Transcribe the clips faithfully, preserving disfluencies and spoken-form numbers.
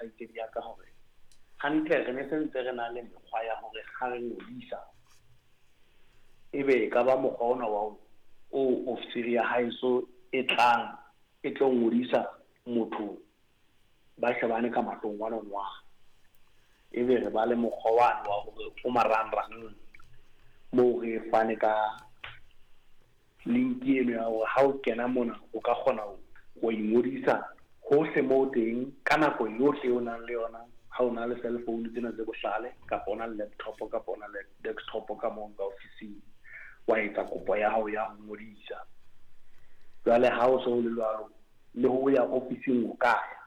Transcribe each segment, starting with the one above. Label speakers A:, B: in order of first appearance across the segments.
A: Kgaitsedi ya ka hore hantle re ne sentse re na le mekgwa ya hore ha re ngodisa, ebe e ka ba mokgwa ona wa o ofisiri ya haeso e tlang e tlo ngodisa motho ba shebane ka mahlong one on one. Ebe re ba le mokgwa wane wa hore o marangrang moo re fane ka link eno ya hore ha o kena mona o ka kgona ho ingodisa hohle moo teng ka nako yohle o nang le yona. Ha o na le cell phone tsena tse bohlale, kapa o na le laptop, kapa o na le desktop ka moo ka ofising, wa etsa kopo ya hao ya ho ngodisa. Jwale ha o so le jwalo, le ho ya ofising o ka ya.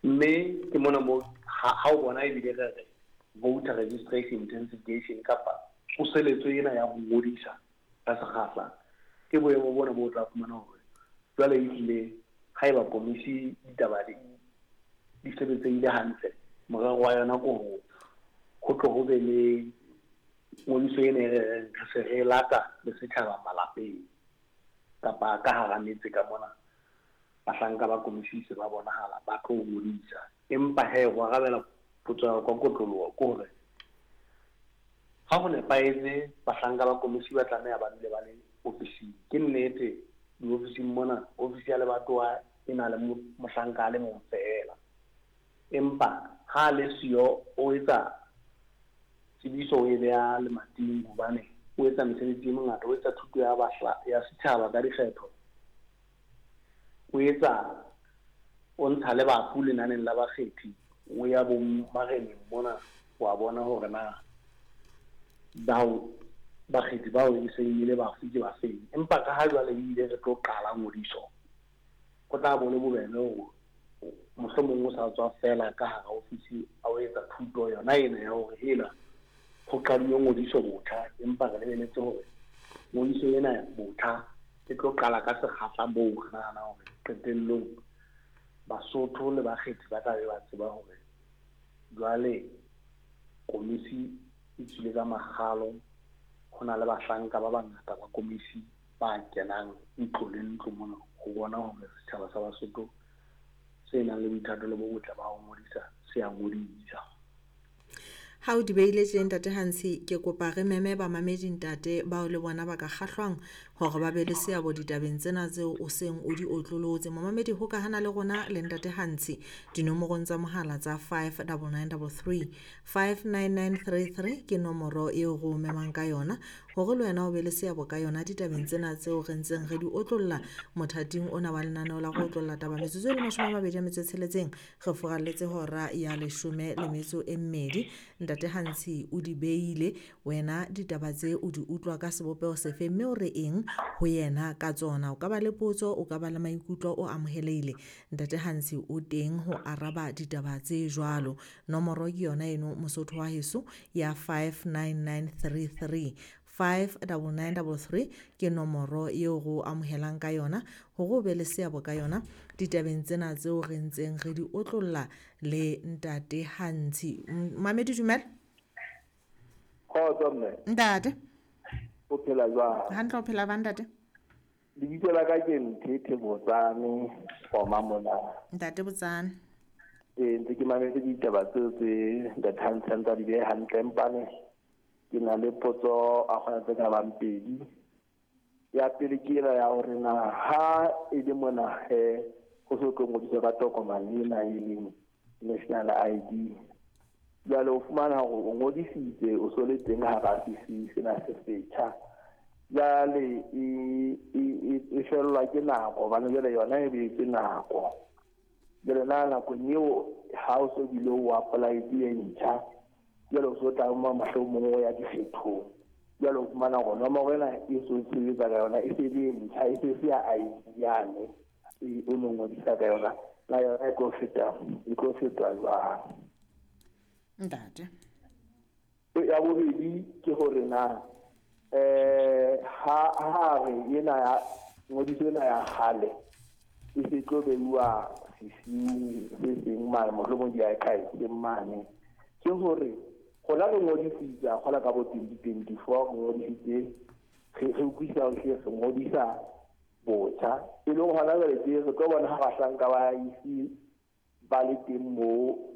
A: Mme ke mona moo ha o bona ebile re re voter registration intensification kapa tsoseletso ena ya ho ngodisa ka sekgahla, ke boemo bona bo tla fumana hore jwale ehlile haeba komisi ditaba di di sebetsehile hantle, morero wa yona ke ho ho tlo ho be le ngodiso ena e re reng re se re lata le setjhaba malapeng kapa ka hara metse ka mona. Bahlanka ba komisi se ba bonahala ba tlo ngodisa. Empa hee ho arabela potso ya ka kotloloho ke hore ha ho nepahetse bahlanka ba komisi ba tlameha ba dule ba le ofising. Ke nnete diofising mona, ofisi ya lebatowa e na le mohlanka a le mong feela. Empa ha le siyo o etsa tsebiso o e beha lemating hobane o etsa mesebetsi e mengata, o etsa thuto ya bahla ya setjhaba ka dikgetho, o etsa o ntsha le bafu lenaneng la bakgethi, o ya bo mareneng mona wa bona hore na bao bakgethi bao e seng e le bafu ke ba feng. Empa ka ha jwale ebile re tlo qala ngodiso, ho tla bo le bobebe hore mohlomong o sa tswa feela ka hara ofisi a o etsa thuto yona ena ya hore hela ho qaduwe ngodiso botjha, empa re lebeletse hore ngodiso ena botjha e tlo qala ka sekgahla moo re nahana hore qetellong Basotho le bakgethi ba tla be ba tseba hore jwale komisi e tswile ka makgalo, ho na le bahlanka ba bangata ba komisi ba kenang ntlo le ntlo mona ho bona hore setjhaba sa Basotho se nang le boithatelo bo botle ba ho ngodisa se a ngodisa.
B: Ha o di beile tje ntate Hansi, ke kopa re meme bamamedi ntate bao le bona ba ka kgahlwang hore ba be le seabo ditabeng tsena tseo o seng o di otlolotse. Momamedi hokahana le rona le ntate Hansi dinomorong tsa mohala tsa five double nine double three, five nine nine three three ke nomoro eo re o memang ka yona hore le wena o be le seabo ka yona ditabeng tsena tseo re ntseng re di otlolla mothating ona wa lenaneo la go otlolla taba. Metsotso e le mashome a mabedi a metso e tsheletseng re furalletse hora ya leshome le metso e mmedi. Ntate Hansi o di beile, wena ditaba tse o di utlwa ka sebopeho sefe mme o re eng ho yena ka tsona? O ka ba le potso, o ka ba le maikutlo, o amohelehile. Ntate Hansi o teng ho araba ditaba tse jwalo. Nomoro ke yona eno Mosotho wa heso ya five nine nine three three, five double nine double three ke nomoro eo re o amohelang ka yona hore o be le seabo ka yona ditabeng tsena tseo re ntseng re di otlolla le ntate Hansi. Mamedi dumela.
C: Kgotso mme.
B: Ntate.
C: O phela jwang?
B: Hantle, o phela ba ntate?
C: Lebitso la ka ke Nthethe Botsane, Koma mona.
B: Ntate Botsane.
C: Eh, ntse ke mametse ditaba tseo tse ntate Hansi a ntse a di behe hantle, empane ke na le potso a kgona tse ka bang pedi. Ya pele ke ena ya hore na ha e le mona he ho so tlo ngodiswa ka tokomane ena e leng national I D. Jwale o fumana hore o ngodisitse o so le teng hara sesi sena se setjha. Jwale e, e, e, e fellwa ke nako hobane jwale yona e beetswe nako. Jwale na nakong eo ha o so bile o apply-ile e ntjha, jwale o so tla mohlomong o ya dikgethong. Jwale o fumana hore nomoro ena e so sebetsa ka yona e se le ntjha, e se se ya I D yane e o no ngodisa ka yona, na yona e tlo feta, e tlo fetwa jwang?
B: Ntate.
C: Ya bobedi ke hore na eh ha ha re ena ya ngodiso ena ya kgale e se tlo beuwa sesiung se seng mane, mohlomong di archive mane, ke hore rona re ngodisitse a kgola ka bo twenty twenty-four, re ngodisitse re re utlwisisa hore re ngodisa botjha, e leng hona jwale tje re tlo bona ha bahlanka ba ise Ba le teng moo.